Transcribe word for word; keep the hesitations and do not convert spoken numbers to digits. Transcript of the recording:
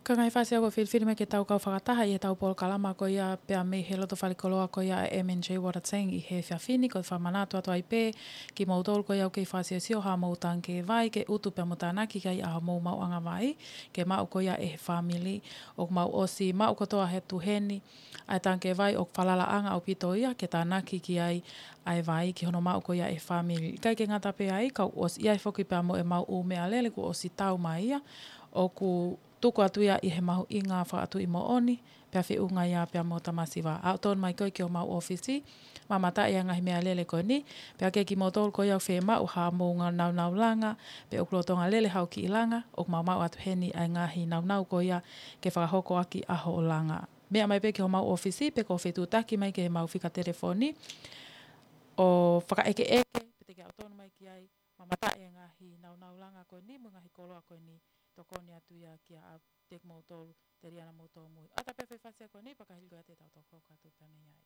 Ka ngaahi fasi au ko e filifili mai ke tau kau fakataha ʻi heʻetau polokalama ko ia pea mei he loto falekoloa ko ia ʻa e M and J Water Tank ʻi he efiafi ni, ko e fakamanatu atu ai pē kimoutolu ko ia ʻoku kei fakasiosio haʻamou tangikē vai ke utu pea mo tānaki ki ai ʻa hoʻomou maʻuʻanga vai ke maʻu ko ia ʻe he fāmili. ʻOku mau ʻosi maʻu kotoa he ʻaho ni ʻa e tangikē vai ʻoku falalaʻanga ʻaupito ia ke tānaki ki ai ʻa e vai ki hono maʻu ko ia ʻe he fāmili. ʻIkai ke ngata pē ai, ka kuo ʻosi ʻi ai foki pea mo ʻemau ʻū meʻalele kuo ʻosi tau mai ia, ʻoku tuku atu ia ʻi he mahuʻinga fakaʻatuʻi moʻoni, pea feʻunga ia pea mo tamasiva. Aʻu tonu mai koe ki homau ʻōfisi, mamataʻi ʻa e ngaahi meʻalele ko eni, pea ke kimoutolu ko ia ʻoku fiemaʻu haʻamou ngaahi naunau langa, pe ʻoku lolotonga lele haʻo kiʻi langa, ʻoku mau maʻu atu heni ʻa e ngaahi naunau ko ia ke fakahoko ʻaki ʻa hoʻo langa. Meʻa mai pē ki homau ʻōfisi, pe ko e fetuʻutaki mai ki heʻemau fika telefoni, ʻo fakaʻekeʻeke, pe te ke aʻu tonu mai ki ai, mamataʻi ʻa e ngaahi naunau langa ko eni, mo e ngaahi koloa ko eni, tokoni atu ia kia ʻaupito kimoutolu, telia naʻa mou tōmui. ʻAta pē foʻi fasi ko eni, pea ka hili ko ia te tau toki hoko atu pē mei ai.